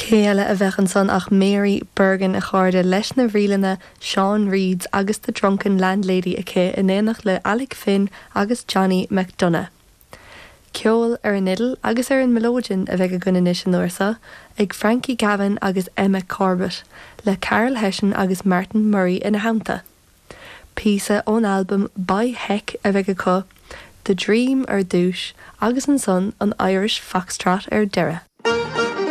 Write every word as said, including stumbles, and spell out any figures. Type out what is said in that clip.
Cé eile a bheadh ansan ach Mary Bergin a chairde leis na ríleanna Sean Reeds agus the Drunken Landlady aici in éineacht le Alec Finn agus Johnny McDonough. Ceol ar an fhidil agus ar an mileoidean a bheidh againn anois an uair seo ag Frankie Gavin agus Emma Corbett, le Carol Hession agus Martin Murray ina theannta. Píosa ón albam By Heck a bheidh acu, The Dream ar dtús agus ansan an Irish Foxtrot ar deireadh.